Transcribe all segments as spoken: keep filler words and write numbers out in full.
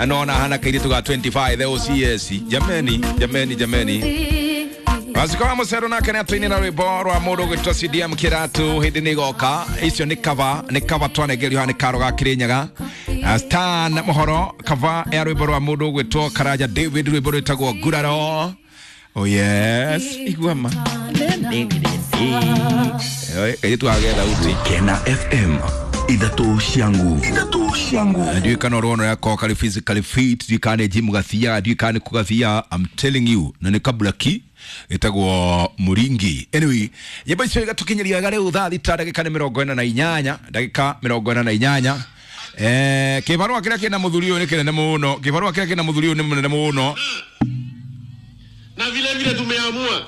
Na nona hana kairitu ga twenty-five the O C S. Jameni, jameni, jameni. Wazikawa musero nake nĩ atũinĩra rwĩmbo rwa mũndũ ũgwĩtwo C D M Kĩratu hĩndĩ nĩ igoka. Icio nĩ cover, nĩ cover twanengerio haha nĩ Karo ga Kĩrĩnyaga. Stan Mohoro cover ya rwĩmbo rwa mũndũ ũgwĩtwo Karanja David, rwĩmbo rwĩtagwo Nguraro. Oh yes, igua ma. Kairĩtu gage thauti. Kena F M ithatũ cia nguvu. Ithatũ cia nguvu. Ndiũĩ kana ũrona ũrĩa akorwo karĩ physically fit, ndiũĩ kana nĩ gym gathiaga, ndiũĩ kana nĩ kũ gathiaga. I'm telling you, na nĩ kabla ki ĩtagwo Mũringi. Anyway, nyĩmbo icio igatũkinyĩria wega rĩu thaa thita ndagĩka nĩ mĩrongo ĩna na inyanya, ndagĩka mĩrongo ĩna na inyanya. Eh, kĩbarũa kĩrĩa kĩna mũthuri ũyũ nĩ kĩnene mũno. Kĩbarũa kĩrĩa kĩna mũthuri ũyũ nĩ mũnene mũno. Na vile vile tumeamua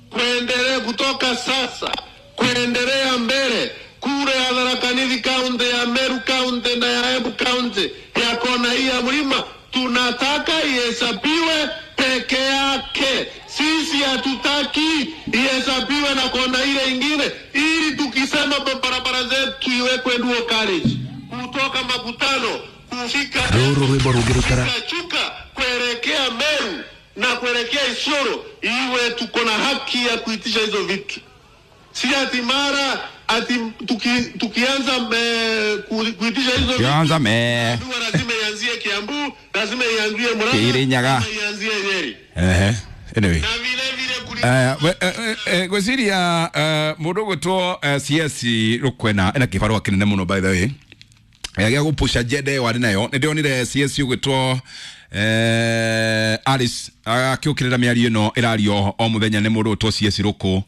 kuendelea kutoka sasa kuendelea mbele kule ya Tharaka Nithi County, ya Meru County na ya Embu County, ya kona hii ya mlima, tunataka ihesabiwe peke yake. Sisi hatutaki ihesabiwe na kona ile ingine, ili tukisema barabara zetu iwekwe dual carriage kutoka Makutano kufika Ruru rwimbo rũngĩrutara Chuka kuelekea Meru na kuelekea Isiolo, iwe tuko na haki ya kuitisha hizo vitu. Si ati mara ati tuki, tukianza me, ku, kuitisha hizo vitu, Tukianza me. Ndio lazima ianzie Kiambu, lazima ianzie Murang'a, Kirinyaga. lazima ianzie Nyeri. Ehe. Anyway. Na vile vile kuli Eh, we, eh, eh, eh, gwĩciria, eh, mũndũ ũgwĩtwo, eh, C S Rũkwena ena kĩbarũa kĩnene mũno by the way. Eh, gĩa gũpush agenda ĩyo arĩ nayo. Nĩ ndĩronire C S ũgwĩtwo, eh, Alice akĩũkĩrĩra mĩario ĩno ĩrario o mũthenya nĩ mũndũ ũgwĩtwo C S Rũkũ.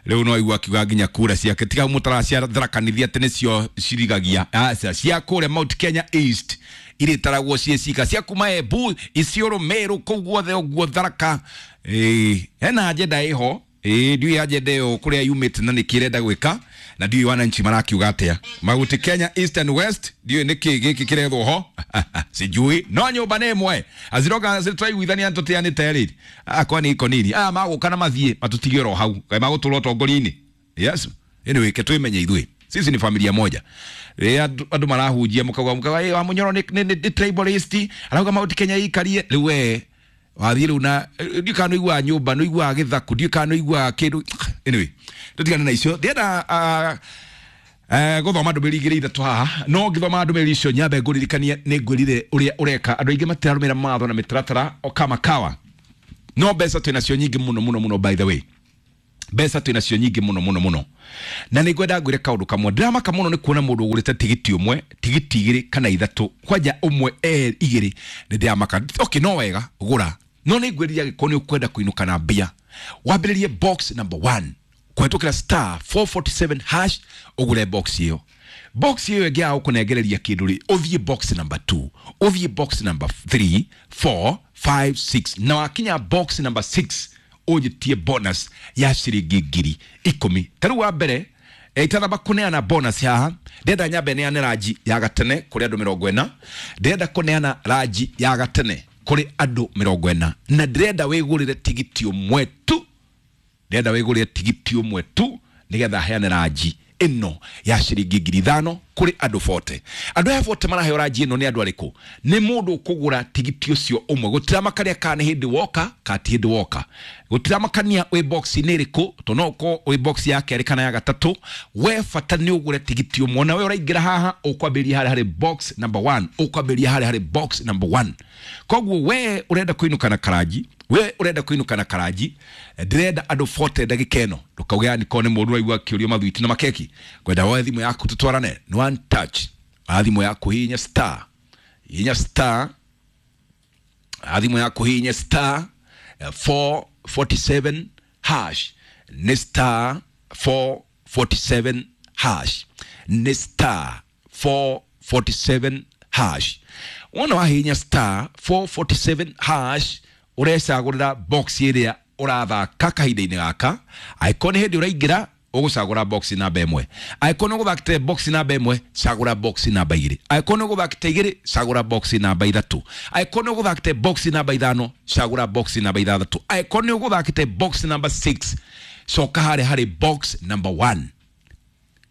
Rĩu no aigua akiuga nginya kura ciake tiga mũtaraciatharakaniria atĩ nĩcio cirigagia. Aca, cia kũrĩa Mount Kenya East irĩtaragwo ciĩ cika cia kuma Embu, Isiolo, Meru, kũu guothe ũguo Tharaka. Ĩĩ, hena agenda ĩho. Ĩĩ, ndiũĩ agenda ĩyo kũrĩa yumĩte na nĩkĩ ĩrenda gwĩka, na ndiũĩ wananchi marakiuga atĩa. Mount Kenya East and West, ndiũĩ nĩkĩ gĩkĩ kĩrethwo ho. Sijui. No nyũmba nĩ ĩmwe. Aziroga tũraiguithania tũteanĩte rĩ. Ah, kwani iko nini? Ah, magũka na mathiĩ, matũtige oro hau. Kaĩ magũtũra ũtongoria-inĩ. Yes. Anyway, ke twĩmenye ithuĩ. Sisi ni familia moja. Rĩrĩa andũ, andũ marahunjia mũkauga, mũkauga, ĩ, wa Mũnyoro nĩ, nĩ, nĩ tribalist, arauga Mount Kenya ĩikarie. Rĩu we, wathiĩ rĩu na, ndiũĩ kana nĩũiguaga nyũmba, nĩũiguaga gĩthaku, ndiũĩ kana nĩũiguaga kĩndũ. Anyway, tũtigane na icio. Ndĩrenda, ah, eh, gũthoma ndũmĩrĩri igĩrĩ ithatũ haha. No ngĩthoma ndũmĩrĩri icio nyambe ngũririkanie nĩ ngwĩrire ũrĩa ũreka. Andũ aingĩ matirarũmĩrĩra mawatho na mĩtaratara o kama kawa. No mbeca twĩnacio nyingĩ mũno mũno mũno by the way. Mbeca twĩnacio nyingĩ mũno mũno mũno. Na nĩ ngwenda ngwĩre kaũndũ kamwe. Ndĩramaka mũno nĩ kuona mũndũ ũgũrĩte tigiti ũmwe, tigiti igĩrĩ kana ithatũ, kwanja ũmwe, erĩ, igĩrĩ. Nĩ ndĩramaka. Okay, no wega gũra. No nĩ ngwĩrire angĩkorwo nĩ ũkwenda kũinũka na mbia, wambĩrĩrie box number one. Kũhetũkĩra star four forty-seven hash ũgũre box ĩyo. Box ĩyo ĩngĩ ya gũkũnengereria kĩndũ rĩ, ũthiĩ box number two, ũthiĩ box number three, four, five, six. Na wakinya box number six, ũnjĩtie bonus ya ciringi ngiri ikũmi. Ta rĩu wa mbere, eh, itanamba kũneana bonus haha, ndĩrenda nyambe neane ranji ya gatene kũrĩ andũ mĩrongo ĩna. Ndĩrenda kũneana ranji ya gatene kũrĩ andũ mĩrongo ĩna. Na ndĩrenda wĩgũrĩre tigiti ũmwe tu. Ndĩrenda wĩgũrĩre tigiti ũmwe tu nĩgetha heane ranji ĩno ya ciringi ngiri ithano kũrĩ andũ forty. Andũ aya forty maraheo ranji ĩno nĩ andũ arĩkũ? Nĩ mũndũ ũkũgũra tigiti ũcio ũmwe. Gũtiramakania kana nĩ hĩndĩ woka kana ti hĩndĩ woka. Gũtiramakania wĩ box-inĩ ĩrĩkũ, tondũ no ũkorwo wĩ box ya kerĩ kana ya gatatũ. We bata nĩ ũgũre tigiti ũmwe. Na we ũraingĩra haha ũkwambĩrĩria harĩa harĩ box number one, ũkwambĩrĩria harĩa harĩ box number one. Koguo we ũrenda kũinũka na karanji, we ũrenda kũinũka na karanji, ndĩrenda andũ forty ndagĩka ĩno. Ndũkauge yani korwo nĩ mũndũ ũraigua akĩũrio mathwiti na makeki. Ngwenda woe thimũ yaku tũtwarane. Nĩ one touch. Oya thimũ yaku hihinya star. Hihinya star. Oya thimũ yaku hihinya star, eh, four forty-seven hash. Nĩ star four forty-seven hash. Nĩ star four forty-seven hash. Wona wahihinya star four forty-seven hash, ũrecagũrĩra box ĩrĩa ũrathaka kahinda-inĩ gaka. Angĩkorwo nĩ hĩndĩ ũraingĩra, ũgũcagũra box namba ĩmwe. Angĩkorwo nĩ ũgũthakĩte box namba ĩmwe, cagũra box namba igĩrĩ. Angĩkorwo nĩ ũgũthakĩte igĩrĩ, cagũra box namba ithatũ. Angĩkorwo nĩ ũgũthakĩte box namba ithano, cagũra box namba ithathatũ. Angĩkorwo nĩ ũgũthakĩte box namba six, coka harĩa harĩ box number one.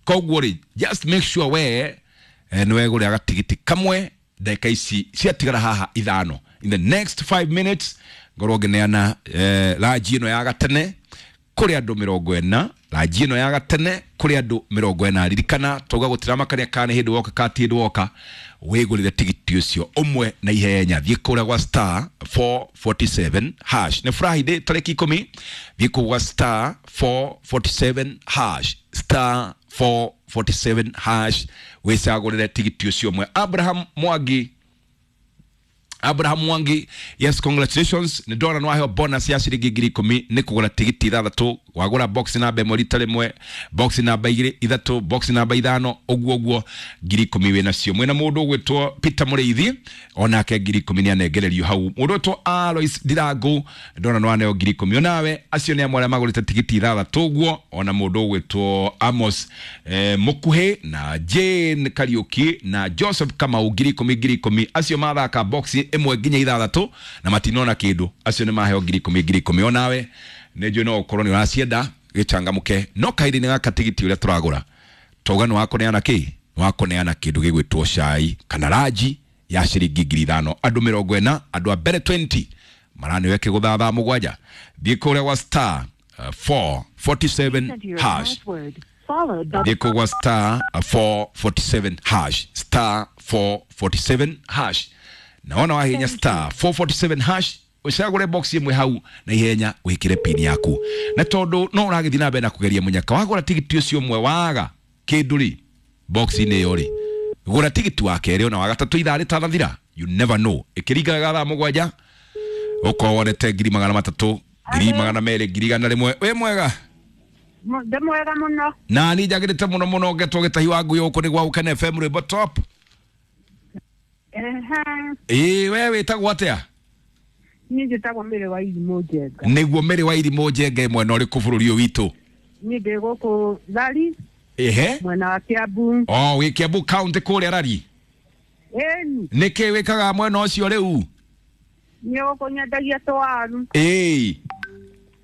Koguo rĩ, just make sure we, eh, nĩ wegũrĩra gatigiti kamwe Ndagĩka ici ciatigara haha ithano, in the next five minutes ngorwo ngĩneana eh, ranji ĩno ya gatene kũrĩ andũ mĩrongo ĩna, ranji ĩno ya gatene kũrĩ andũ mĩrongo ĩna. Ririkana twauga gũtiramakania kana nĩ hĩndĩ woka kana ti hĩndĩ woka, wĩgũrĩre tigiti ũcio ũmwe na ihenya. Thiĩ kũrĩa gwa star four forty-seven hash. Nĩ Friday tarĩki ikũmi. Thiĩ kũu gwa star four forty-seven hash, star four forty-seven hash, wĩcagũrĩre tigiti ũcio ũmwe. Abraham Mwangi, Abraham Mwangi, yes, congratulations. Nĩ ndona nĩ waheo bonus ya ciringi ngiri ikũmi nĩ kũgũra tigiti ithathatũ. Wagũra box namba ĩmwe rita rĩmwe, box namba igĩrĩ, ithatũ, box namba ithano, ũguo ũguo, ngiri ikũmi wĩ nacio. Mwĩna mũndũ ũgwĩtwo Peter Mũrĩithi, onake ngiri ikũmi nĩ anengererio hau. Mũndũ ũgwĩtwo Alois Ndirangu, ndona nĩ waneo ngiri ikũmi onawe. Acio nĩ amwe arĩa magũrĩte tigiti ithathatũ ũguo. Ona mũndũ ũgwĩtwo Amos eh, Mũkuhĩ na Jane Kariuki na Joseph Kamau, ngiri ikũmi, ngiri ikũmi. Acio mathaka box ĩmwe nginya ithathatũ na matinona kĩndũ, acio nĩ maheo ngiri ikũmi, ngiri ikũmi. Onawe nĩ njũĩ no ũkorwo nĩ ũracienda, gĩcangamũke. No kahinda-inĩ gaka tigiti ũrĩa tũragũra twauga nĩ wakũneana kĩ, nĩ wakũneana kĩndũ gĩgwĩtwo cai kana ranji ya ciringi ngiri ithano, andũ mĩrongo ĩna, andũ a mbere mĩrongo ĩrĩ maranĩwe kĩgũtha thaa mũgwanja. Thiĩ kũrĩa gwa star uh, four forty-seven Enter your hash. password, followed by Thiĩ kũu gwa star four forty-seven hash, star four forty-seven hash. Naona wahinya star four forty-seven hash, ũcagũre box ĩmwe hau na ihenya, wĩkĩre pin yaku. Na tondũ no ũragĩthiĩ na mbere na kũgeria mũnyaka, wagũra tigiti ũcio ũmwe waga kĩndũ rĩ box-inĩ ĩyo rĩ, gũra tigiti wa kerĩ ona wa gatatũ ithaa rĩtanathira. You never know, ĩkĩringaga thaa mũgwanja ũkorwo wonete ngiri magana matatũ, ngiri magana merĩ, ngiri igana rĩmwe. Wĩ mwega? Ndĩ mwega mũno. Na ni njagĩrĩte mũno mũno. Ngetwo gĩtahi wa ngui gũkũ nĩ gwa Gũkena F M, rwĩmbo top. Ehe. Ĩĩ, we wĩtagwo atĩa? Niĩ njĩtagwo Mĩrĩ wa Irimũ Njenga. Nĩguo, Mĩrĩ wa Irimũ Njenga, mwena ũrĩkũ bũrũri ũyũ witũ? Niĩ ndĩ gũkũ Thari. Ehe. Mwena wa Kiambu. O wĩ Kiambu County kũrĩa Rari? Ĩni. Nĩkĩ wĩkaga mwena ũcio rĩu? Niĩ gũkũ nyendagia tũwaru. Ĩĩ.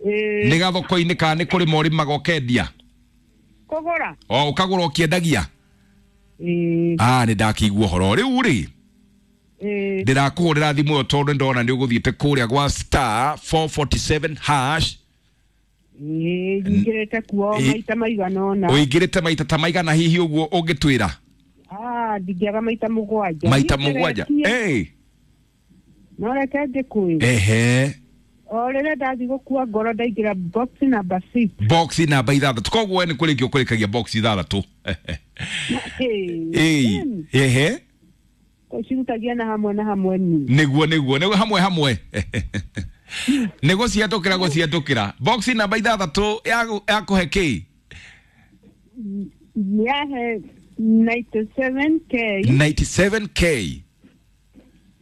Ĩĩ. Nĩ gathoko-inĩ kana nĩ kũrĩma ũrĩmaga ũkendia? Kũgũra. O ũkagũra ũkĩendagia? Ĩĩ. Ah, nĩ ndakĩigua ũhoro rĩu rĩ. Ĩĩ. Ndĩrakũhũrĩra thimũ ĩyo tondũ ndona nĩ ũgũthiĩte kũrĩa gwa star four forty-seven hash. Ĩĩ, nyingĩrĩte kuo Ĩ- maita maigana ũna. Ũingĩrĩte maita ta maigana hihi ũguo ũngĩtwĩra? Ah, ndingĩaga maita mũgwanja. Maita mũgwanja? Nyingĩrĩtie. Ĩĩ. No reke ngĩkwĩre, Ehe. o rĩrĩa ndathiĩ gũkua ngoro ndaingĩra box number six. Box namba ithathatũ. Koguo we nĩ kũrĩkia ũkũrĩkagia box ithathatũ? Ĩĩ. Ĩĩ, ehe. Cirutagia na hamwe na hamwe ni. nĩguo nĩguo nĩguo, hamwe hamwe nĩ gũciatũkĩra gũciatũkĩra. Box namba ithathatũ ya- yakũhe kĩ? Yahe mĩrongo kenda na mũgwanja K. mĩrongo kenda na mũgwanja K.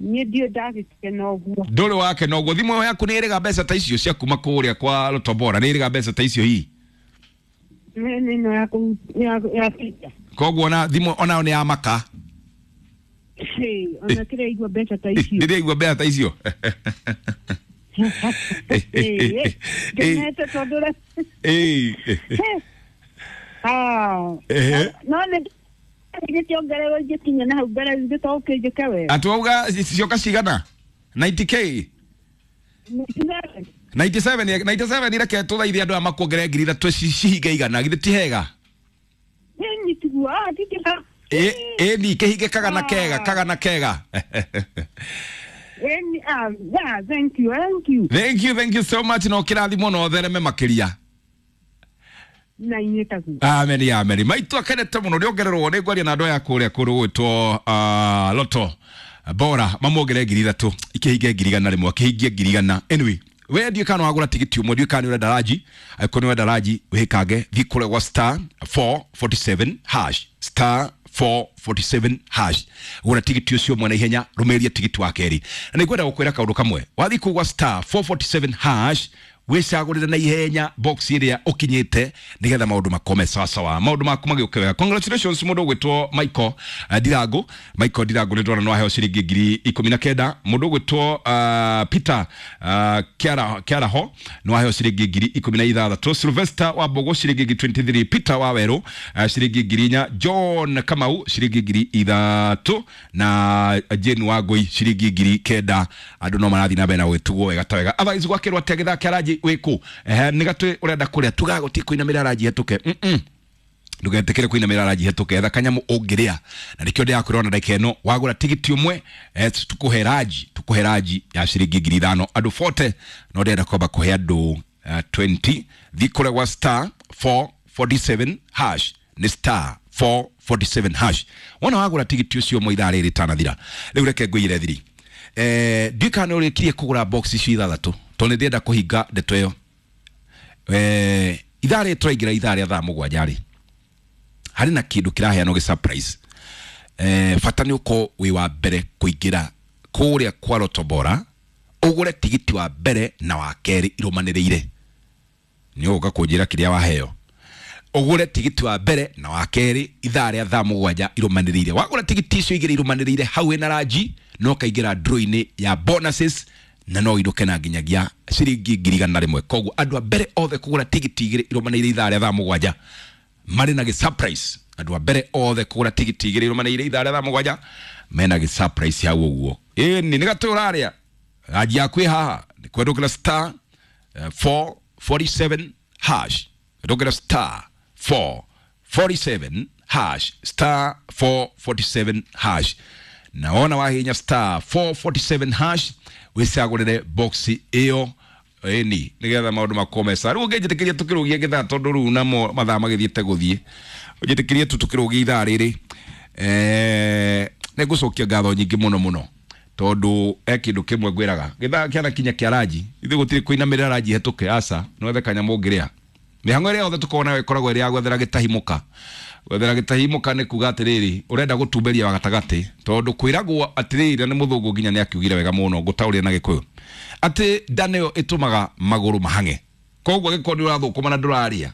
Niĩ ndiũ ndagĩkena ũguo. Ndũrĩ wake noguo. Thimũ ĩyo yaku nĩ ĩrĩga mbeca ta icio cia kuma kũrĩa kwa Lotobora? Nĩ ĩrĩga mbeca ta icio hihi? Nĩ ĩno ya kũ- ya ya Peter. Koguo ona thimũ onayo nĩ ya maka? Hey, ona kĩrĩa igua mbeca ta icio. Ndĩraigua mbeca ta icio. Ĩĩ, ngenete tondũ re- Ĩĩ. Ah, Ehe. no nĩ ingĩkĩongererwo ingĩkinya na hau mbere ithe to ũkĩnjĩke wega. Atĩ wauga cioka cigana? mĩrongo kenda K? mĩrongo kenda na mũgwanja, mĩrongo kenda na mũgwanja. Reke tũthaithe andũ aya makuongerere ngiri ithatũ ci- cihinge igana. Githĩ ti hega? Ĩni tiguo, ah, ndingĩha- Ĩ ĩni kĩhinge kagana kega, kagana kega. Ĩni, ah, yeah, thank you, thank you. Thank you, thank you so much. No kĩrathimo no thereme makĩria. Na inyuĩ taguo. Amen, amen. Maitũ akenete mũno nĩongererwo. Nĩ ngwaria na andũ aya kũrĩa kũndũ gwĩtwo uh, Loto Bora mamuongerere ngiri ithatũ ikĩhinge ngiri igana rĩmwe, akĩhingie ngiri igana. Anyway, we ndiũ kana wagũra tigiti ũmwe, ndiũ kana nĩ ũrenda ranji. Angĩkorwo nĩ ũrenda ranji, wĩkange, thiĩ kũrĩa gwa star four forty-seven hash, star four forty-seven hash, gũra tigiti ũcio ũmwe na ihenya, rũmĩrĩria tigiti wa kerĩ. Na nĩngwenda gũkwĩra kaũndũ kamwe. Wathiĩ kũu gwa star four forty-seven hash Wicagurire na ihenya box iria ukinyite nigetha maundu makome sawa sawa, maundu maku magiuke wega. Congratulations mundu ugwitwo Michael uh, Ndirangu. Michael Ndirangu ni ndona no aheo ciringi ngiri ikumi na kenda. Mundu ugwitwo uh, Peter uh, Kiara Kiaraho no aheo ciringi ngiri ikumi na ithathatu. Sylvester wa Mbogo ciringi ngiri twenty-three. Peter wa Weru uh, ciringi ngiri inya. John Kamau ciringi ngiri ithatu na Jane Wangui ciringi ngiri kenda. Andu no marathi na mbere na gwĩtugwo wega ta wega. Otherwise gwakĩrwo atĩa gĩthaa kĩa ranji wĩkũ? Ehe, nĩ gatwĩ ũrenda kũrĩa tugaga gũtirĩ kũinamĩrĩra ranji hetũke. Mm-mm. Ndũgetĩkĩre kũinamĩrĩra ranji hetũke, etha kanyamũ ũngĩrĩa na nĩkĩo ndĩrakwĩra ona ndagĩka ĩno wagũra tigiti ũmwe eh, tũkũhe ranji tũkũhe ranji ya ciringi ngiri ithano andũ forty, no ndĩrenda kwamba kũhe andũ uh, twenty. Thiĩ kũrĩa gwa star four forty-seven hash, nĩ star four forty-seven hash. Wona wagũra tigiti ũcio ũmwe ithaa rĩrĩ rĩtanathira. Rĩu reke ngũigĩre thiri. Eh, ndiũĩ kana nĩ ũrĩkirie kũgũra box icio ithathatũ tondũ nĩ ndĩrenda kũhinga ndeto ĩyo. Eh, ithaa rĩrĩ tũraingĩra ithaa rĩa thaa mũgwanja rĩ, harĩ na kĩndũ kĩraheanwo gĩ surprise. Eh, bata nĩ ũkorwo wĩ wa mbere kũingĩra kũrĩa kwa Lotto Bora ũgũre tigiti wa mbere na wa kerĩ irũmanĩrĩire. Nĩ ũgũka kũnjĩra kĩrĩa waheo. Ũgũre tigiti wa mbere na wa kerĩ ithaa rĩa thaa mũgwanja irũmanĩrĩire. Wagũra tigiti icio igĩrĩ irũmanĩrĩire hau wĩna ranji no kaingĩra draw-inĩ ya bonuses na no ũinũke na nginyagia ciringi ngiri igana rĩmwe. Koguo andũ a mbere othe kũgũra tigiti igĩrĩ irũmanĩrĩire ithaa rĩa thaa mũgwanja marĩ na gĩ surprise. Andũ a mbere othe kũgũra tigiti igĩrĩ irũmanĩrĩire ithaa rĩa thaa mũgwanja mena gĩ surprise hau ũguo. Ĩni nĩ gatũ ũrarĩa ranji yaku ĩ haha nĩ kwendũkĩra star uh, four forty-seven hash. Kwendũkĩra star four forty-seven hash, star four forty-seven hash. Naona wahinya star four forty-seven hash wicagũrĩre box ĩyo ĩni nĩgetha maũndũ makome sawa. Rĩu ũngĩnjĩtĩkĩria tũkĩrũgie gĩthaa tondũ rĩu namo mathaa magĩthiĩte gũthiĩ, ũnjĩtĩkĩrie tu tũkĩrũgie ithaa rĩrĩ. Eh, nĩngũcokia ngatho nyingĩ mũno mũno tondũ e kĩndũ kĩmwe ngwĩraga gĩthaa kĩanakinya kĩa ranji ithuĩ gũtirĩ kũinamĩrĩra ranji hetũke, aca no wethe kanyamũ ũngĩrĩa. Mĩhang'o ĩrĩa yothe tũkoragwo nayo ĩkoragwo ĩrĩ ya gwethera gĩtahimũka. Gwethera gĩtahimũka nĩ kuga atĩrĩrĩ ũrenda gũtumberia wa gatagatĩ tondũ kwĩragwo atĩrĩrĩ na nĩ mũthũngũ nginya nĩ akiugire wega mũno ngũtaũrĩre na gĩkũyũ atĩ nda nĩyo ĩtũmaga magũrũ mahang'e. Koguo angĩkorwo nĩ ũrathũkũma na ndũrarĩa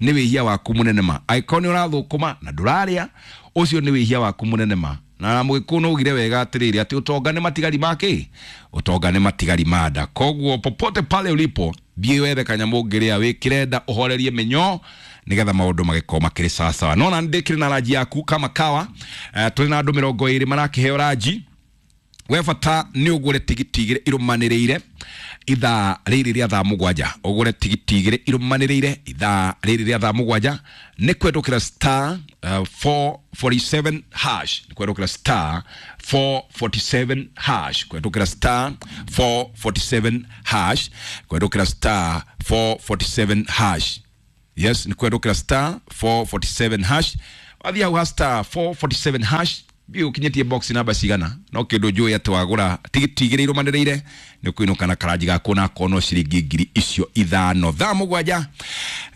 nĩ wĩhia waku mũnene ma. Angĩkorwo nĩ ũrathũkũma na ndũrarĩa ũcio nĩ wĩhia waku mũnene ma. Na mũgĩkũyũ nĩ augire wega atĩrĩrĩ atĩ ũtonga nĩ matigari ma kĩ? Ũtonga nĩ matigari ma nda. Koguo popote pale ulipo thiĩ wethe kanyamũ ũngĩrĩa wĩkĩre nda ũhorerie mĩnyoo nĩgetha maũndũ magĩkorwo makĩrĩ sawa sawa. Nona ndĩkĩrĩ na ranji yaku kama kawa. Uh, tũrĩ na andũ mĩrongo ĩrĩ marakĩheo ranji. We bata nĩ ũgũre tigiti igĩrĩ irũmanĩrĩire ithaa rĩrĩ rĩa thaa mũgwanja. Ũgũre tigiti igĩrĩ irũmanĩrĩire ithaa rĩrĩ rĩa thaa mũgwanja nĩ kwendũkĩra star uh, four forty-seven hash. Nĩ kwendũkĩra star four forty-seven hash. Kwendũkĩra star four forty-seven hash. Kwendũkĩra star four forty-seven hash. Yes, nĩ kwendũkĩra star four forty-seven hash. Wathiĩ hau ha star four forty-seven hash thiĩ ũkinyĩtie box namba cigana no kĩndũ njũĩ atĩ wagũra tigiti igĩrĩ irũmanĩrĩire nĩ ũkũinũka na karanji gaku na akorwo no ciringi ngiri icio ithano. Thaa mũgwanja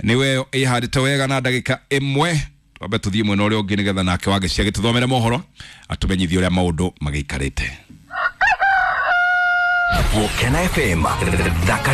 nĩwe ĩhandĩte wega na ndagĩka ĩmwe. Twambe tũthiĩ mwena ũrĩa ũngĩ nĩgetha nake Wangeci agĩtũthomere mohoro atũmenyithie ũrĩa maũndũ magĩikarĩte. Gũkena F M thaka